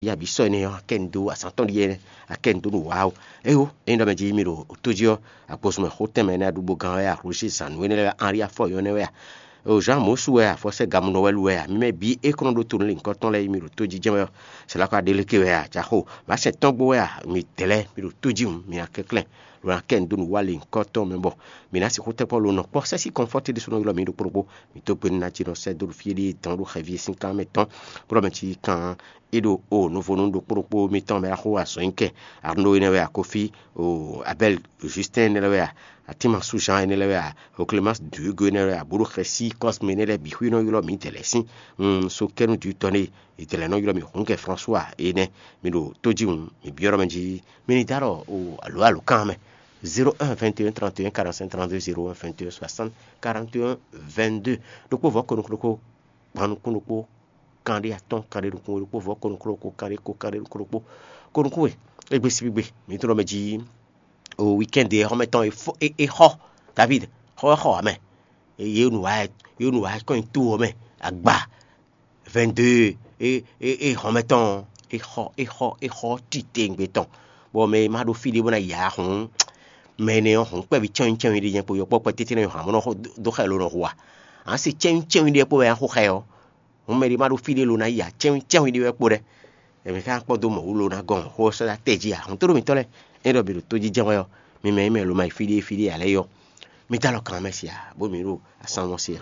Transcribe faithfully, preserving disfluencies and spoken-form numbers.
Ya bǐ sɔ́ énɛ́ ɔ́, akɛ́ un dó azǎn tɔn ɖíe nɛ́, akɛ́ un dó nǔ wa ó. É ó, ényí ɖɔ mɛ jí mi ɖo tó jí ɔ́, agbosúnmɛ xótɛnmɛ énɛ́, aɖúgbó gán wɛ a, Roger Sanu énɛ́ lɛ́ɛ wɛ a, Henri Afɔyɔ énɛ́ wɛ a, o Jean Mosu wɛ a, Fɔsɛ́ Gamunɔ wɛ lu wɛ a, mi mɛ bǐ é kɔn nɔ ɖó to nú linkɔ tɔn lɛ́ɛ yi mi ɖo tó jí jɛ́n wɛ ɔ́, sɛ lɔ ka ɖe léke wɛ a, jaxo mǎ sɛn tɔn gbo wɛ a, mi dɛ̌ lɛ́ɛ mi ɖo tó jí hǔn, mi ná kɛnklɛ́n, lo ná kɛ un dó nǔ wa linkɔ tɔn mɛ bɔ mi ná sixú tɛ́nkpɔ́n lo nɔ kpɔ́ sɛ́ sí kɔnfɔ́ti ɖésúnɔ ylɔ́ mi ɖo kpóɖokpó. Mi dó gbe nú ná jí nɔ sɛ́ dó ɖo fí e ɖíe dán ɖó xɛví e sín kan mɛ tɔn, bó ɖɔ mɛ cí kan é ɖo o nuvonu ɖokpó ɖokpó mitɔn mɛ axó azɔ̌ nyi kɛ. Arnaud énɛ́ wɛ a, Kofi, o Abel, Justin énɛ́ lɛ́ wɛ a, Atima Sujan énɛ́ lɛ́ wɛ a, o Clémence Duigo énɛ́ lɛ́ wɛ a, bó ɖo xɛsí Cosme énɛ́ lɛ́ɛ bǐ xwé nɔ ylɔ́ mǐ dɛ̌ lɛ́ɛ sín. Un so kɛ́nú dǐ tɔn née è dɛ̌ lɛ́ɛ nɔ ylɔ́ mǐ hǔn kɛ François énɛ́. Mi ɖo tó jí hǔn, mi byɔ́ ɖɔ mɛ jí mi ní dó alɔ o alo alo kan mɛ. Zéro un vingt et un trente et un quarante-cinq trente-deux, zéro un vingt et un soixante quarante et un vingt-deux. Ɖokpó vɔ̌ ko nukún ɖokpó, gban nukún ɖokpó, kanɖé atɔ́ɔ́n kanɖé nukún ɖokpó, vɔ̌ ko nukún ɖokpó, kanɖé ko kanɖé nukún ɖokpó, ko nukún we. Égbé síbígbe mi tunɔ mɛ jí o weekend e xɔmɛ tɔn e fɔ e e xɔ David xɔ xɔ amɛ. Ye nu wa ye nu wa kɔn to ɔ́ mɛ agba vingt-deux e e e xɔmɛ tɔn e xɔ e xɔ e xɔ titewungbe tɔn. Bɔ mɛ e ma ɖo fí ɖé bó ná ya hǔn, mɛ énɛ́ ɔ́ hǔn kpɛví cɛ́nwí cɛ́nwí ɖé nyɛ kpo yɔkpɔ́ kpɛtɛ́tɛ́ nɔ hǎn bó nɔ dó xɛ lo nɔ hu a? Ǎ se cɛ́nwí cɛ́nwí ɖé kpó wɛ a xo xɛ ɔ́. Hǔn mɛɖé ma ɖo fí ɖé lo ná yi ǎ, cɛ́nwí cɛ́nwí ɖé wɛ kpo ɖɛ́. Ɛmɛ ka kpɔ́ dó mɔ̌ wú lo ná gɔn xó ɔ́ sɔ́ dó atɛ jí ǎ. Hǔn tó ɖo mitɔ́ lɛ́ɛ, é ɖɔ mi ɖo tó jí jɛ́n wɛ ɔ́, mi mɛ e mɛ lo ma yi fí ɖé fí ɖé ǎ lɛ́ɛ yɔ, mi dó alɔ kan mɛ se ǎ, bó mi ɖo asán mɔ se ǎ.